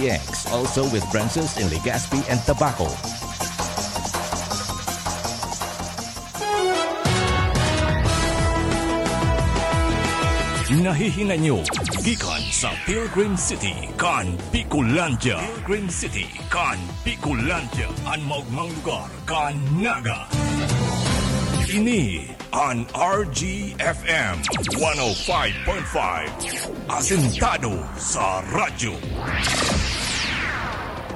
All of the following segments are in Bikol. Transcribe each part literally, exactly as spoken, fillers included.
X, also with branches in Legazpi and Tabaco. Nahihinay nyo gikan sa Pilgrim City kan Bicolandia. Pilgrim City kan Bicolandia, an maogmang lugar kan Naga. Ini an R G F M one oh five point five, asentado sa radyo.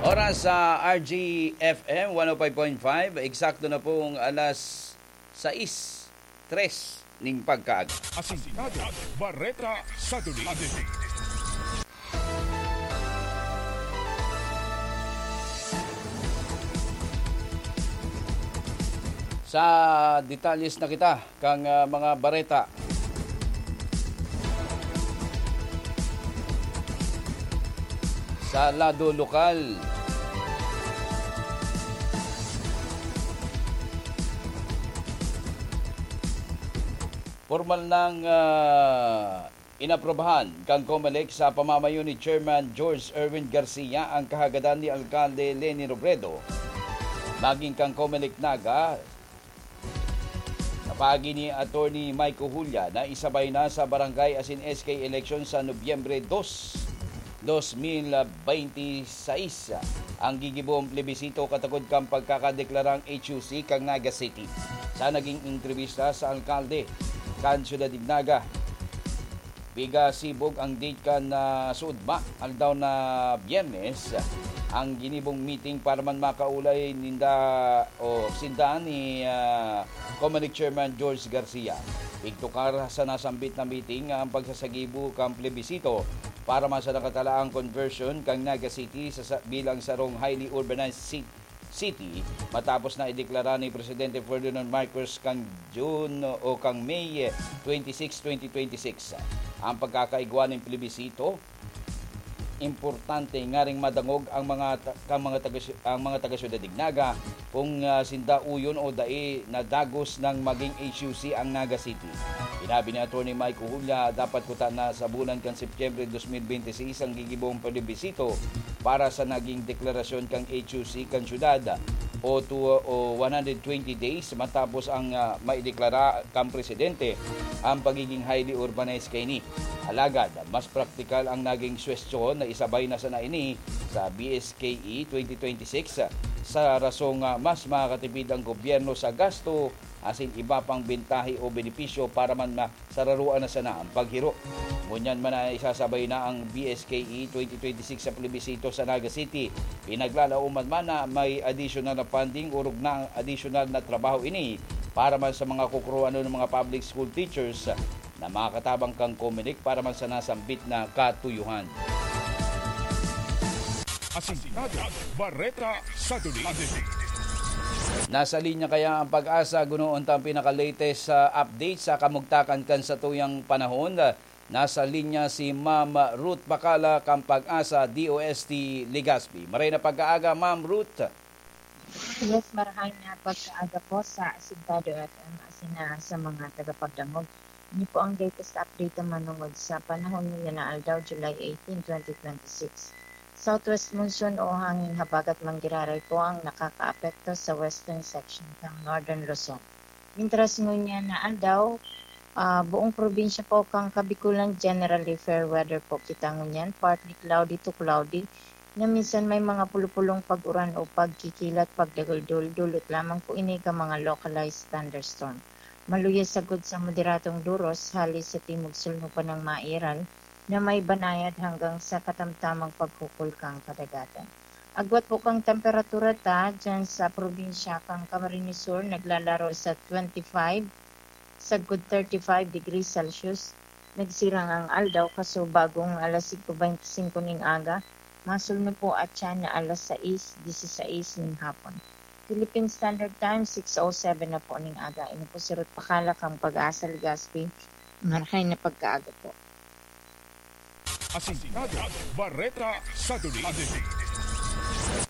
Oras sa R G F M one oh five point five, eksakto na pong alas sais, tres ning pagkaaga. Asintado, Bareta sa Duli. Sa detalles na kita kan, ah, mga bareta. Sa lado lokal, pormal nang, ah, inaprubahan kan Comelec sa pamamayo ni Chairman George Erwin Garcia ang kahagadan ni Alkalde Leni Robredo magin kan Comelec Naga. Sa paagi ni Attorney Mike Ojulia na isabay na sa barangay asin S K election sa Nobyembre dos, dos mil bente sais ang gigibong plebisito katakod kan pagkakadeklarang H U C kan Naga City. Sa naging entrebista sa alkalde kan Syudad nin Naga, pigasibog ang date kan, ah, suodma, aldaw na Biyernes, ang ginibong meeting para man makaulay ninda o sinda ni, ah, Comelec Chairman George Garcia. Igtukar sa nasambit na meeting ang pagsasagibo kan plebisito para man sa nakatalaang conversion kan Naga City sa, sa, bilang sarong highly urbanized ci-, city, matapos na ideklara ni Presidente Ferdinand Marcos kan June o kan May twenty-six, twenty twenty-six ang pagkakaigwa nin plebisito. Importante ngaring madangog ang mga ta-, kan mga taga, ang mga taga Syudad nin Naga kung, ah, sinda uyon o dai na dagos nang magin H U C ang Naga City. Sinabi ni Attorney Mike Ojulia, dapat kuta na sa bulan kan Setyembre dos mil bente seis ang gigibong plebisito para sa naging deklarasyon kan H U C kan syudad o two, o one hundred twenty days matapos ang, ah, maideklara kan presidente ang pagiging highly urbanized kaini. Alagad, mas praktikal ang naging suwestyon na isabay na sana ini sa B S K E twenty twenty-six sa rasong, ah, mas makakatipid ang gobyerno sa gasto asin iba pang bentahe o benepisyo para man masararoan na sana ang paghiro. Ngunyan man na isasabay na ang B S K E twenty twenty-six sa plebisito sa Naga City, pinaglalaoman man na may additional na funding, orog na ang additional na trabaho ini para man sa mga kukuruhanon ng mga public school teachers na makatabang kan Comelec para man sa nasambit na katuyuhan. Asintado, Bareta sa Duli. Nasa linya kaya ang PAGASA, gunoon tang pinaka-latest sa update sa kamugtakan kan satuyang panahon. Nasa linya si Ma'am Ruth Bacala kan PAGASA D O S T Legazpi. Maray na pagkaaga, Ma'am Ruth. Yes, marahay na pagkaaga po sa Asintado F M asin na sa mga tagapagdangog. Ini po ang latest update na manungod sa panahon ngunyan na aldaw, July eighteen, twenty twenty-six. Southwest monsoon o hangin habagat manggiraray po ang nakakaapekto sa western section ng Northern Luzon. Mintras ngunyan na aldaw, ah, buong probinsya po kan Kabikulan, generally fair weather po kita ngunyan, partly cloudy to cloudy, na minsan may mga pulupulong pag-uran o pagkikilat, pagdaguldol, dulot lamang po ini kan mga localized thunderstorm. Maluya sagkod sa moderadong duros, hali sa timog sulnupan ng Mairal, na may banayad hanggang sa katamtamang pagkukul kan kadagatan. Agwat po kan temperatura ta dyan sa probinsya kan Camarines Sur, naglalaro sa twenty-five, sagkod thirty-five degrees Celsius. Nagsirang ang aldaw, kaso bagong alas singko bente singko ning aga, masulno po at siya na alas sais disisais ning hapon. Philippine Standard Time, six oh seven na po ning aga. Ini po si Ruth Bacala kan PAGASA Legazpi. Marahay na pagkaaga po. Asintado, Bareta sa Duli.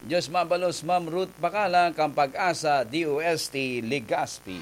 Diyos mabalos, Ma'am Ruth Bacala kan PAGASA D O S T Legazpi.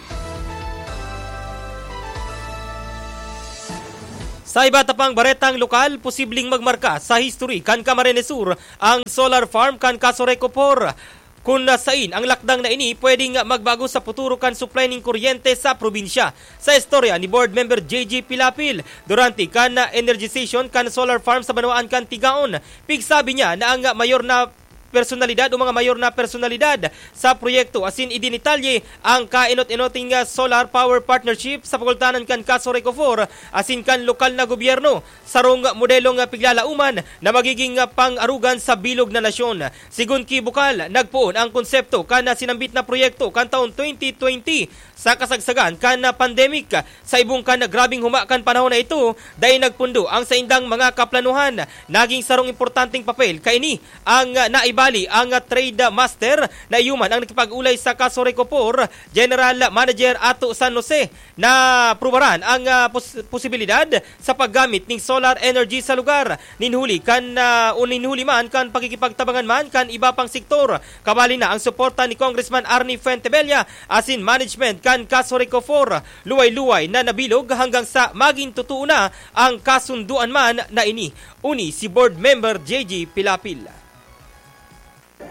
Sa iba ta pang baretang lokal, posibleng magmarka sa history kan Camarines Sur ang solar farm kan Casureco Four, kun sain ang lakdang na ini pwedeng magbago sa futuro kan supply ning kuryente sa probinsya. Sa istorya ni Board Member J J Pilapil, durante kan energization kan solar farm sa banwaan kan Tigaon, pigsabi niya na ang mayor na personalidad o mga mayor na personalidad sa proyekto asin idinitalye ang kainot-inoting, ah, solar power partnership sa pagultanan kan Casureco Four asin kan lokal na gobyerno, sarong modelong, ah, piglalauman na magiging, ah, pang-arugan sa bilog na nasyon. Sigon ki Bukal, nagpoon ang konsepto kan, ah, sinambit na proyekto kan taon twenty twenty sa kasagsagan kan, ah, pandemic. Sa ibong kan grabeng huma kan panahon na ito, dai nagpundo ang saindang mga kaplanuhan. Naging sarong importanteng papel kaini ang, ah, naibali ang, ah, trade master na iyo man ang nakipag-olay sa Casureco Four, General Manager Ato San Jose, na prubaran ang, ah, pos-, posibilidad sa paggamit ning solar energy sa lugar. Nin huli kan, ah, o nin huli man kan pakikipagtabangan man kan iba pang sektor, kabali na ang suporta ni Congressman Arnie Fuentebella asin management kan Casureco Four. Luway-luway na nabilog hanggang sa magin totoo na ang kasunduan man na ini. Uni si Board Member J J Pilapil.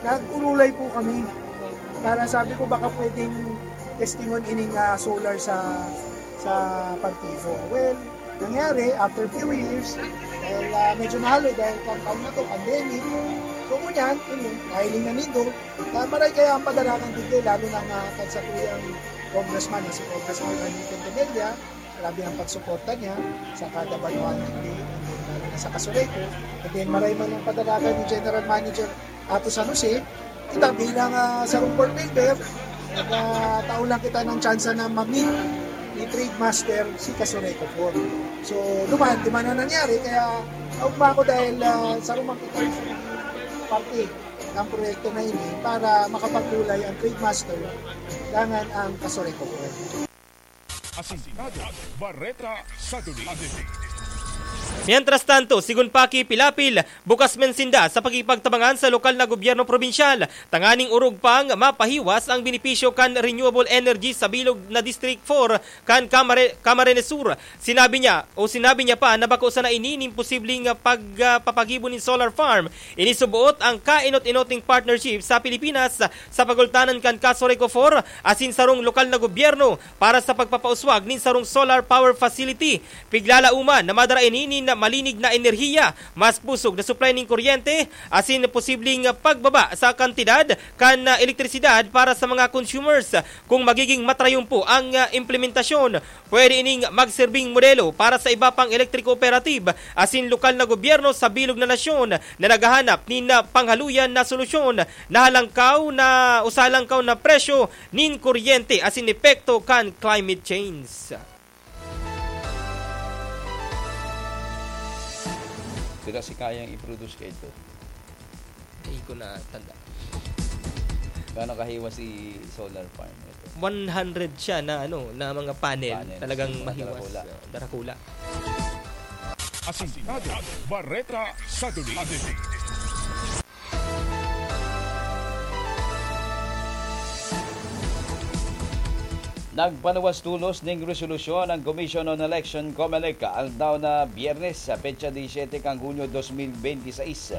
Nag-urulay po kami para sabi ko baka pwedeng testingon ining, ah, solar sa, sa partido. Well, nangyari, after few years, dahil, ah, medyo mahal eh, dahil kan taon na to, pandemic. So, ngunyan, ini, kahiling na nindo, ah, maray kaya ang padalakan digdi, lalo na nga kan satuyang congressman, na si Congressman Andy Quintanilla, grabe ang pagsuporta niya sa kada banwaan digdi, and then lalo na sa Casureco. And then, maray man ang padalakan ni General Manager Ato San Jose, kita bilang, ah, sarong board member, nagkataon lang kita ng tsansa na ma-meet ni Trade Master si Casureco Four. So, duman, di man na nangyari, kaya naugma ako dahil, ah, sarong man kita sa parte ng proyekto na ini para makapagkulay ang Trade Master, dangan ang Casureco Four. Asintado, Bareta sa Duli. Mientras tanto, sigon pa ki Pilapil, bukas man sinda sa pakikipagtabangan sa lokal na gobyerno probinsyal, tanganing orog pang mapahiwas ang benepisyo kan renewable energy sa bilog na District Four kan Camare-, Camarines Sur. Sinabi niya, o sinabi niya pa na bako sana ini nin posibleng, ah, pag, ah, papagibo nin solar farm. Ini suboot ang kainot-inoting partnership sa Pilipinas sa pagultanan kan Casureco Four asin sarong lokal na gobyerno para sa pagpapauswag nin sarong solar power facility. Piglalauman na madara ini nin malinig na enerhiya, mas pusog na supply nin kuryente, asin posibleng pagbaba sa kantidad kan, ah, elektrisidad para sa mga consumers. Kung magiging matrayumpo ang, ah, implementasyon, pwede ining magserbing modelo para sa iba pang electric cooperative asin lokal na gobyerno sa bilog na nasyon na naghahanap nin, ah, panghaluyan na solusyon na halangkaw na o sa halangkaw na presyo nin kuryente asin epekto kan climate change. Pira si kayang i-produce kaidto? Di ko na tanda. Gaano kahiwas si solar farm ito? One hundred siya na, ano, na mga panel. Panels. Talagang mga mahiwas. Darakula. Uh, darakula. Asintado, Bareta sa Duli. Nagpanuwas tolos ning resolusyon ang Commission on Election, COMELEC, aldaw na Biyernes, sa petsa disiyete kan Hunyo dos mil benti sais,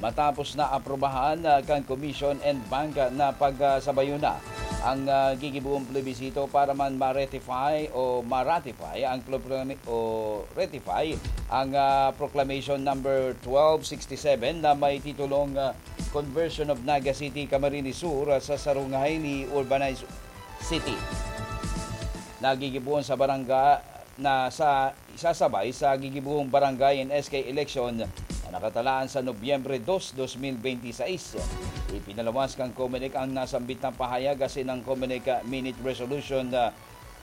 matapos na aprubahan, ah, kan Commission and Bank na pagsabayon na ang, ah, gigiboong plebisito para man ma-ratify o ma-ratify ang proklami-, o ratify ang, ah, Proclamation Number twelve sixty-seven na may titulong, ah, Conversion of Naga City, Camarines Sur, ah, sa sarong highly urbanized city. Nagigibohon sa barangay na sa isasabay sa gigibohong barangay and S K election na nakatalaan sa Nobyembre dos, dos mil benti sais. Ipinaluwas kan COMELEC ang nasambit na pahayag asin ang COMELEC Minute Resolution, ah,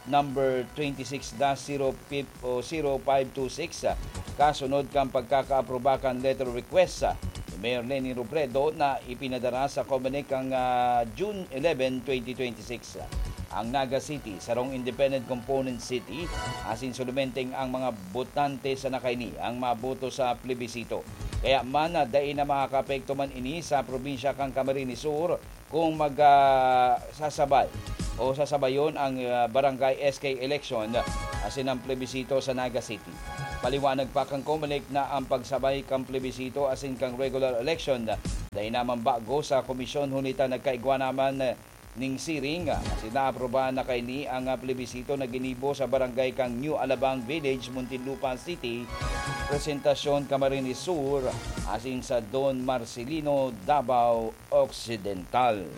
number twenty-six dash zero fif-, o zero five two six, ah, kasunod kan pagkakaapruba kan letter request, ah, ni Mayor Leni Robredo na ipinadara sa COMELEC kan, ah, June eleven, twenty twenty-six. Ang Naga City, sarong independent component city, asin solomenteng ang mga botante sana kaini ang maboto sa plebisito. Kaya man, ah, dai na makakaapekto man ini sa probinsya kan Camarines Sur, kung mag, ah, sasabay o sasabayon ang, ah, barangay S K election, ah, asin ang plebisito sa Naga City. Paliwanag pa kan Comelec na ang pagsabay kan plebisito asin kan regular election dai naman bago sa komisyon, huli ta nagkaigwa naman ning siring asin naaprubahan na kaini ang plebisito na ginibo sa barangay kan New Alabang Village, Muntinlupa City, presentasyon Camarines Sur asin sa Don Marcelino, Davao Occidental.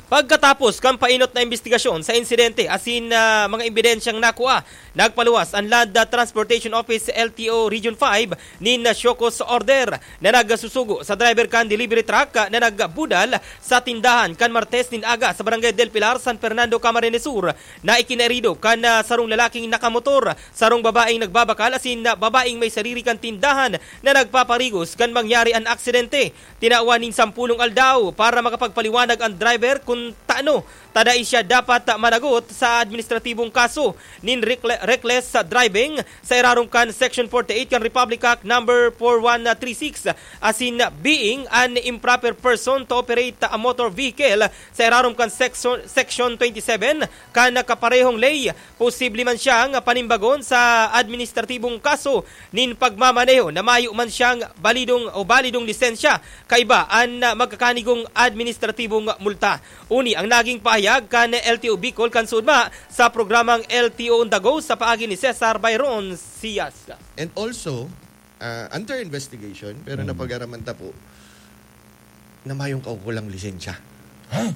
Pagkatapos kan painot na imbestigasyon sa insidente asin, ah, mga ebidensyang nakua, nagpaluwas an Land Transportation Office, L T O Region five, nin show cause order na nagsusugo sa driver kan delivery truck na nagbudal sa tindahan kan Martes nin aga sa Barangay Del Pilar, San Fernando, Camarines Sur, na ikinahirido kan, ah, sarong lalaking nakamotor, sarong babaeng nagbabakal asin, ah, babaeng may sariri kan tindahan na nagpaparigos kan mangyari an aksidente. Tinawan nin sampolong aldaw para makapagpaliwanag an driver kun tano ta dai siya dapat managot sa administratibong kaso nin reckless driving sa irarom kan Section forty-eight kan Republic Act Number four one three six, asin being an improper person to operate a motor vehicle sa irarom kan Section, Section twenty-seven kan kaparehong ley. Posible man siyang panimbagon sa administratibong kaso nin pagmamaneho na mayo man siyang balidong o balidong lisensya kaiba an magkakanigong administratibong multa. Uni ang naging pahayag kan L T O Bicol kan suodma sa programang L T O on the Go sa paagi ni Cesar Byron Sias. And also, ah, under investigation, pero napag-araman ta po na mayong kaukulang lisensya. Ha?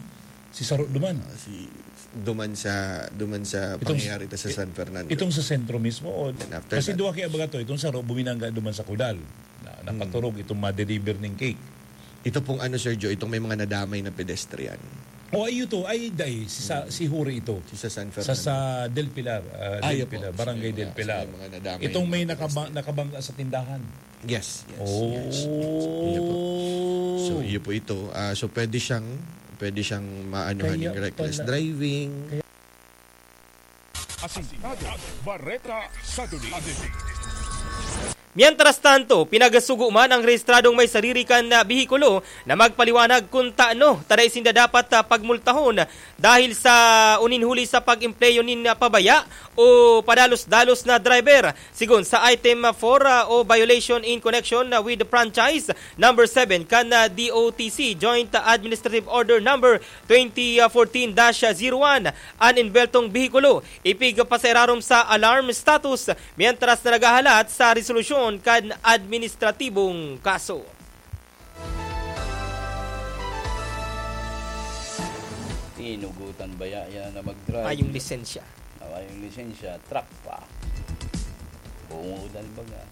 Si Saro duman? Ah, si duman sa duman sa Itong- pangyayari ta sa it- San Fernando. Itong sa sentro mismo? O, Then after kasi that- duwa kaya baga to, itong Saro buminangga duman sa Kudal. Na, napaturog itong ma-deliver ning cake. Ito pong ano, Sir Joe, itong may mga nadamay na pedestrian. O, ay, ito, ay, day, si, sa, si Huri ito. Si sa San Sa, Fernando. Sa Del Pilar, ah, Ay, Del opo. Pilar, Barangay Sa may Del mga, Pilar. sa may mga nadamay Itong na may mga nakaba- pedestrian. nakabangga sa tindahan. Yes, yes, Oh. yes, yes. Iyo po. So, iyo po ito. Ah, so, pwede siyang, pwede siyang maanuhan Kaya ng reckless pala. driving. Kaya Asintado, Bareta sa Duli. Mientras tanto, pinagasugo man ang rehistradong may sariri kan, ah, behikulo na magpaliwanag kun tano ta dai sinda dapat, ah, pagmultahon dahil sa unin huli sa pag-empleyo nin, ah, pabaya o padalos-dalos na driver. Sigon sa item four, ah, o violation in connection, ah, with franchise number seven kan, ah, D O T C, Joint Administrative Order number twenty fourteen dash zero one, an enbeltong behikulo ipigpasairarom sa alarm status mientras na naghahalat sa resolusyon kan administratibong kaso. Tinugutan baya yan na mag-drive? Ay, yung lisensya. Awa yung lisensya, truck pa. Bungudan baga.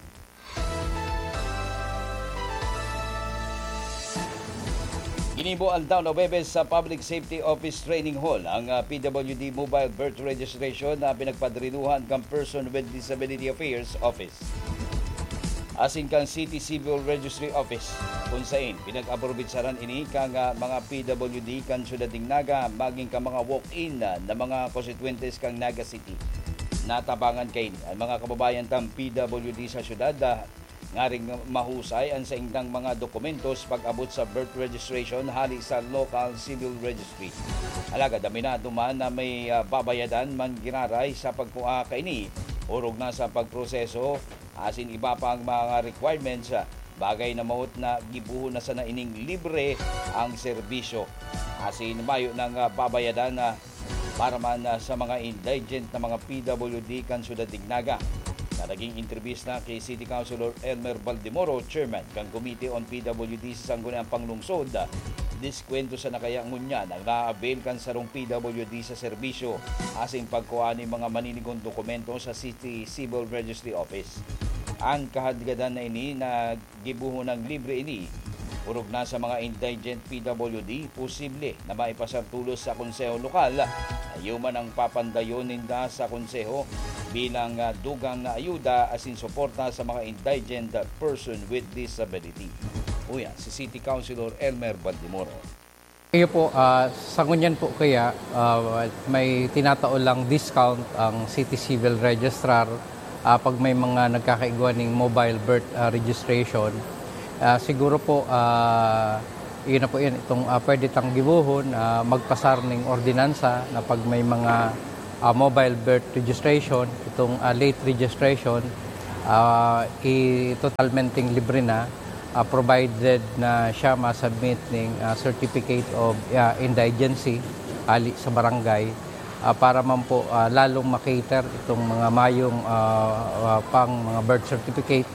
Ginibo aldaw na Huwebes sa Public Safety Office Training Hall ang, ah, P W D Mobile Birth Registration na pinagpadrinuhan kan Person with Disability Affairs Office asin kan City Civil Registry Office, kun sain pinag-aprobetsaran ini kan, ah, mga P W D kan Syudad nin Naga magin kan mga walk-in, ah, na mga konstituyentes kan Naga City. Natabangan kaini an mga kababayan tang P W D sa syudad, ah, ngaring mahusay an saindang mga dokumentos pag-abot sa birth registration hali sa local civil registry. Alagad aminado man na may, ah, babayadan man giraray sa pagkua kaini, orog na sa pagproseso asin iba pang mga requirements, ah, bagay na mawot na gibohon na sana ining libre ang serbisyo. Asin mayo nang, ah, babayadan na para man, ah, sa mga indigent na mga P W D kan Syudad nin Naga, na naging entrevista ki City Councilor Elmer Baldemoro, Chairman kan Committee on P W D sa Sangguniang Panglungsod, ah, diskwento sana kaya ngunyan ang naa-avail kan sarong P W D sa serbisyo asin pagkua nin mga maninigon dokumento sa City Civil Registry Office. An kahadgadan na ini na gibohon nang libre ini. Orog na sa mga indigent P W D, posible na maipasar tolos sa konseho lokal na iyo man ang papandayon ninda sa konseho bilang, ah, dugang na ayuda asin suporta sa mga indigent person with disability. Uya si City Councilor Elmer Baldemoro. Iyo po, ah, sa ngunyan po kaya, ah, may tinatao lang discount ang City Civil Registrar, ah, pag may mga nagkakaigwa ning mobile birth, ah, registration. Ah, siguro po, ah, iyon na po yan, itong, ah, pwede tang gibohon, ah, magpasar ning ordinansa na pag may mga Ah, mobile birth registration, itong, ah, late registration, ah, i-, totalmenteng libre na, ah, provided na siya ma-submit ning, ah, certificate of, ah, indigency ali sa barangay, ah, para man po, ah, lalong ma-cater itong mga mayong, ah, ah, pang mga birth certificate,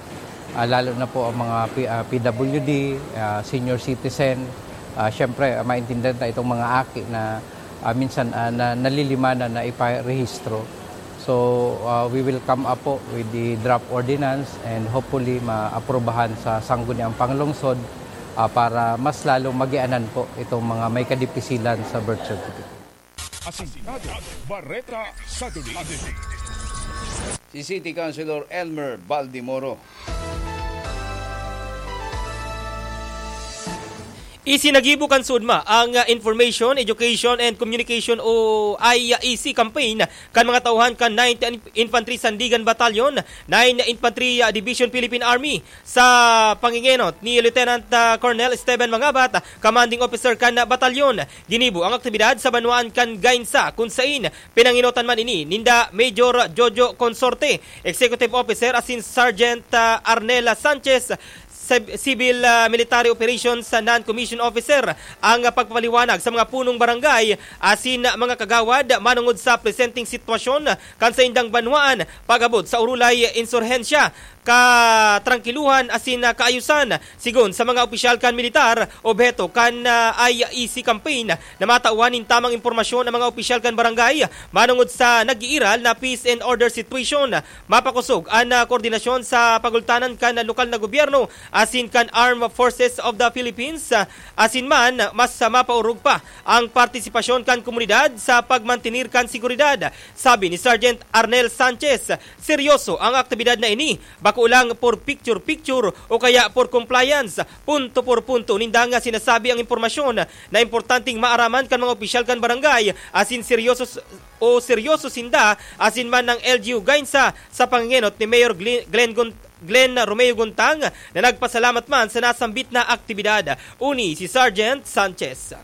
ah, lalo na po ang mga P-, ah, P W D, ah, senior citizen. Ah, siyempre, ah, maintindihan ta itong mga aki na, ah, minsan, ah, na, nalilimanan na iparehistro. So, ah, we will come up po with the draft ordinance and hopefully maaprubahan sa Sangguniang Panglungsod, ah, para mas lalong magianan po itong mga may kadipisilan sa birth certificate. Asintado, Bareta sa Duli. Si City Councilor Elmer Baldimoro. Isinagibo kan SODMA ang, ah, Information, Education and Communication o I E C campaign kan mga tauhan kan Ninth Infantry Sandigan Battalion, Nine Infantry, ah, Division, Philippine Army, sa pangingenot ni Lieutenant, ah, Colonel Esteban Mangabat, Commanding Officer kan batalyon. Ginibo ang aktibidad sa banwaan kan Gainsa, kun sain pinangenotan man ini ninda Major Jojo Consorte, Executive Officer, asin Sergeant, ah, Arnela Sanchez, Civ-, Civil, ah, Military Operations, ah, Non-Commissioned Officer, ang pagpapaliwanag sa mga punong barangay asin mga kagawad manongod sa presenteng sitwasyon kan saindang banwaan pag-abot sa Orulay Insurhensya, katrangkiluhan asin, ah, kaayusan. Sigon sa mga opisyal kan militar, obheto kan, ah, I E C campaign na matawan nin tamang impormasyon ang mga opisyal kan barangay manongod sa nag-iiral na peace and order situation. Mapakosog an, ah, koordinasyon sa pagultanan kan lokal na gobyerno asin kan Armed Forces of the Philippines, ah, asin man mas, ah, mapaorog pa ang partisipasyon kan komunidad sa pagmantenir kan seguridad, sabi ni Sergeant Arnel Sanchez. Seryoso ang aktibidad na ini, bako lang por picture-picture o kaya por compliance. Punto por punto ninda nga sinasabi ang impormasyon na importanteng maaraman kan mga opisyal kan barangay, asin seryoso s-, o seryoso sinda asin man ang L G U Gainsa sa pangenot ni Mayor Glenn, Glenn Gon-, Glenn Romeo Guntang, na nagpasalamat man sa nasambit na aktibidad. Uni si Sergeant Sanchez.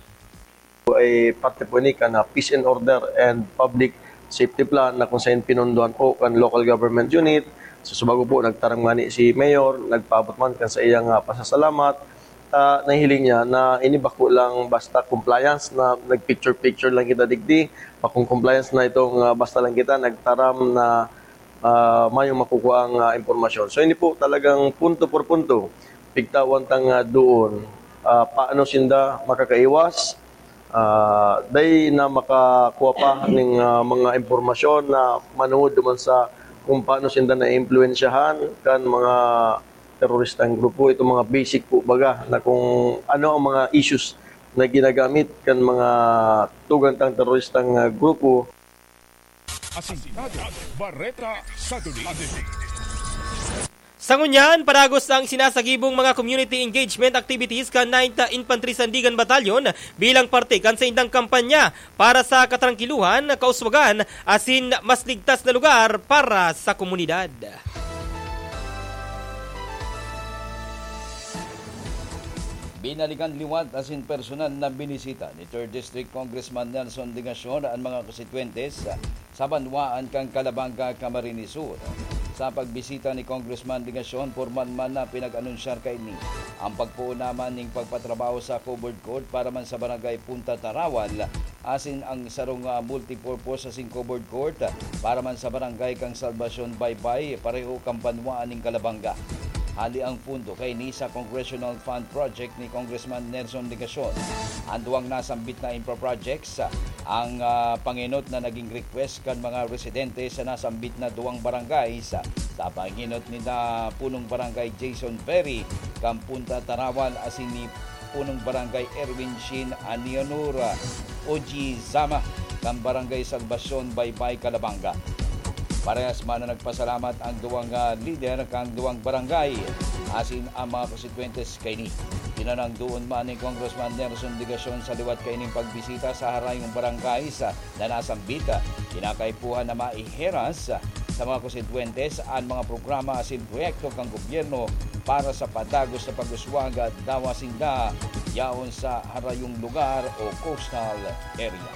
Ay parte po ini kan, ah, peace and order and public safety plan na kung saan pinunduan po kan local government unit. Sa subago po, nagtaram ngani si Mayor, nagpaabot man kan sa iyang, ah, pasasalamat. Ah, nahihiling niya na ini bako lang basta compliance na nag-picture-picture lang kita digdi, bakong compliance na itong, ah, basta lang kita nagtaram na, ah, mayong makukuha ang, ah, impormasyon. So, ini po talagang punto por punto, pigtawan tang, ah, doon, ah, paano sinda makakaiwas, ah, dai na makakuha pa ning, ah, mga impormasyon na manungod duman sa kung paano sinda naiimpluwensyahan kan mga teroristang grupo. Itong mga basic po baga na kung ano ang mga issues na ginagamit kan mga tugang tang teroristang, ah, grupo. Asintado, Bareta sa Duli. Sa ngunyan, padagos ang sinasagibong mga community engagement activities kan Ninth Infantry Sandigan Battalion bilang parte kan saindang kampanya para sa katrangkiluhan, kauswagan, asin mas ligtas na lugar para sa komunidad. Binalikan liwat asin personal na binisita ni Third District Congressman Nelson Legacion an mga konstituyentes sa banwaan kan Calabanga, Camarines Sur. Sa pagbisita ni Congressman Legacion, pormal man na pinag-anunsyar kaini ang pagpoon naman ning pagpatrabaho sa covered court para man sa Barangay Punta Tarawal, asin ang sarong, ah, multipurpose asin covered court para man sa Barangay kan Salvacion Baybay, pareho kan banwaan nin Calabanga. Hali ang pondo kaini sa Congressional Fund Project ni Congressman Nelson Legacion. Ang duwang nasambit na infra projects, ang, ah, pangenot na naging request kan mga residente sa nasambit na duwang barangay sa, sa pangenot ni na Punong Barangay Jason Ferry kan Punta Tarawal asin ni Punong Barangay Erwin Shin Anionura Ojizama kan Barangay Salvacion, Baybay, Calabanga. Parehas man na nagpasalamat ang duwang, ah, lider kan duwang barangay asin ang mga konstituyentes kaini. Pinanangdoon man ni Congressman Nelson Legacion sa liwat kaining pagbisita sa harayong barangay sa na nasambit, kinakaipuhan na maiheras sa mga konstituyentes an mga programa asin proyekto kan gobyerno para sa padagos na pag-uswag dawa sinda yaon sa harayong lugar o coastal area.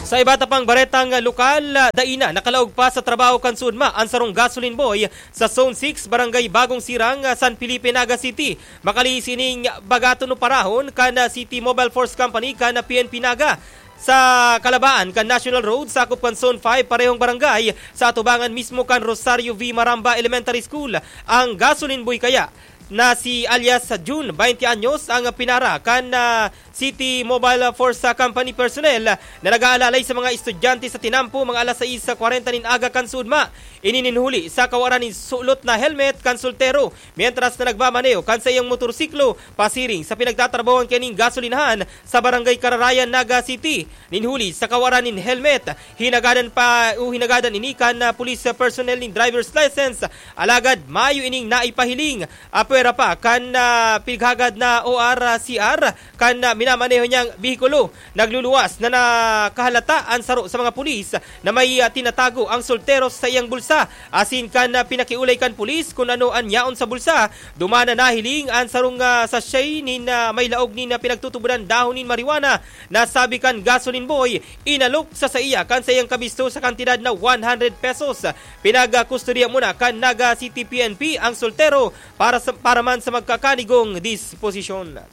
Sa iba ta pang baretang lokal, dai na nakalaog pa sa trabaho kan SODMA an sarong gasoline boy sa Zone six, Barangay Bagong Sirang, San Felipe, Naga City. Makali sining bagaton o parahon kan City Mobile Force Company kan P N P Naga sa kalabaan kan National Road, sakop kan Zone five, parehong barangay, sa atubangan mismo kan Rosario V. Maramba Elementary School. Ang gasoline boy kaya na si alias June, twenty anyos, ang pinara kan, ah, City Mobile Force, ah, Company personnel na nag-aalalay sa mga estudyante sa tinampo, mga alas sais kwarenta nin aga kan SODMA. Ini nin huli sa kawaran nin sulot na helmet kan soltero, mientras na nagmamaneho kan saiyang motorsiklo pasiring sa pinagtatrabahoan kaning gasolinahan sa Barangay Kararayan, Naga City. Nin huli sa kawaran nin helmet, hinagadan pa o hinagadan ini kan, ah, police personnel nin driver's license. Alagad mayo ining naipahiling. Apwera pa kan, ah, pighagad na O R C R kan, ah, minamaneho niyang behikulo, nagluluwas na nakahalata an saro sa mga pulis na may, ah, tinatago ang soltero sa iyang bulsa. Asin kan, ah, pinakiulay kan pulis kun ano an yaon sa bulsa, duman na nahiling an sarong, ah, sachet nin, ah, may laog nin, ah, pinagtutubodan dahon nin marijuana na sabi kan gasoline boy, inalok sa saiya kan saiyang kabisto sa kantidad na one hundred pesos. Pinagkustodiya muna kan Naga City P N P ang soltero para sa, para man sa magkakanigong disposisyon.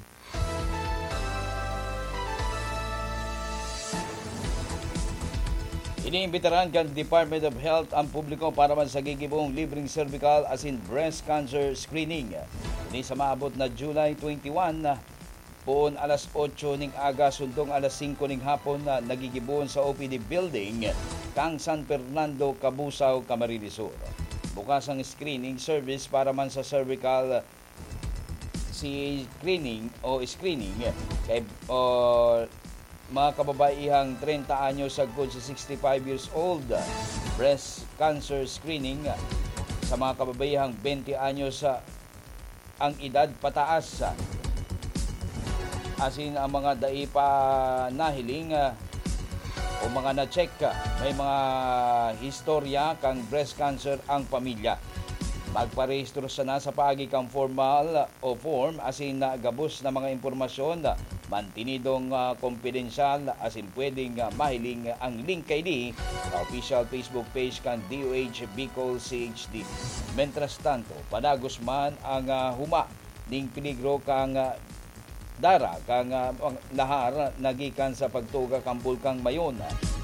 Iniimbitaran kan Department of Health ang publiko para man sa gigibong libreng cervical asin breast cancer screening. Ini sa maabot na July twenty-one, poon alas otso ning aga, sundong alas singko ning hapon, na nagigibohon sa O P D building kan San Fernando, Cabusao, Camarines Sur. Bukas ang screening service para man sa cervical si screening o screening kay, o, mga kababaihang treinta anyos sagkod sa sixty-five years old, breast cancer screening sa mga kababaihang twenty anyos, ah, ang edad pataas, ah, asin ang mga dai pa nahiling, ah, o mga na-check, ah, may mga historya kan breast cancer ang pamilya. Magparehistro sana sa paagi kan formal o form asin na gabos na mga impormasyon, mantinidong, ah, kompidensyal asin pwedeng, ah, mahiling ang link kaini sa official Facebook page kan D O H Bicol C H D. Mientras tanto, padagos man ang, ah, huma ning peligro kan, ah, dara kan, ah, lahar na gikan sa pagtuga kan Bulkang Mayon.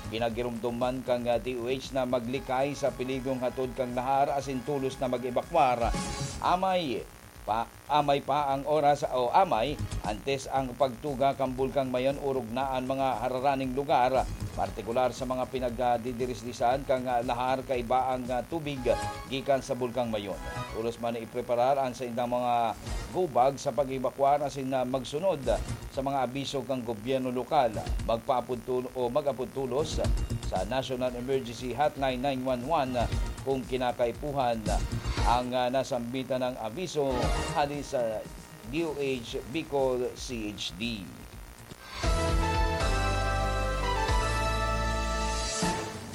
Ginagiromdom man kan, ah, D O H na maglikay sa peligrong hatod kan lahar asin tolos na mag-ebakwar. Amay pa, amay pa ang oras o amay antes ang pagtuga kan Bulkang Mayon, orog na an mga hararaning lugar, partikular sa mga pinagdidirisdisan kan, ah, lahar kaiba ang, ah, tubig gikan sa Bulkang Mayon. Tolos man na ipreparar an saindang mga gubag sa pag-ebakwar asin na magsunod sa mga abiso kan gobyerno lokal. Magpaapod tul-, o mag-apod tolos sa National Emergency Hotline nine one one kung kinakaipuhan ang, ah, nasambitan ng abiso hali sa D O H Bicol C H D.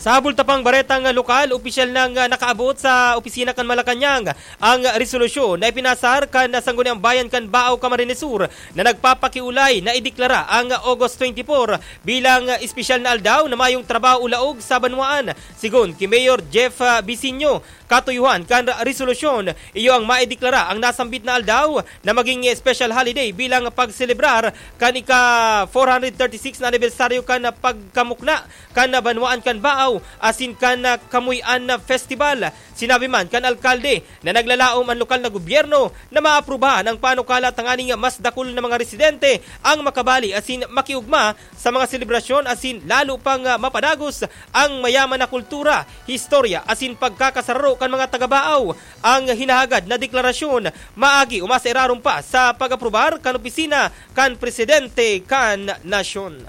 Sa bulta pang baretang lokal, opisyal nang, ah, nakaabot sa opisina kan Malacañang ang resolusyon na ipinasar kan Sangguniang Bayan kan Baao, Camarines Sur na nagpapakiulay na ideklara ang August twenty-four bilang espesyal na aldaw na mayong trabaho o laog sa banwaan. Sigon ki Mayor Jeff, ah, Bisinio, katuyuhan kan resolusyon, iyo ang maideklara ang nasambit na aldaw na maging special holiday bilang pagselebrar kan ika four hundred thirty-six na anibersaryo kan pagkamukna kan banwaan kan Baao asin kan Kamuy-an Festival. Sinabi man kan alkalde na naglalaom an lokal na gobyerno na maaprubahan ang panukala tanganing mas dakul na mga residente ang makabali asin makiugma sa mga selebrasyon asin lalo pang, ah, mapadagos ang mayaman na kultura, historya asin pagkakasararo kan mga taga-Baao. Ang hinahagad na deklarasyon maagi o masairarom pa sa pag-aprobar kan opisina kan presidente kan nasyon.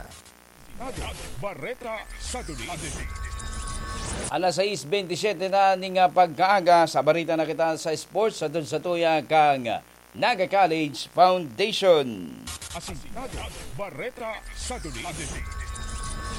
Bareta sa Duli. Alas sais bentisiete na ning, ah, pagkaaga. Sa bareta na kita sa sports, sa dun sa tuya kang Naga College Foundation. Asintado, Bareta sa Duli.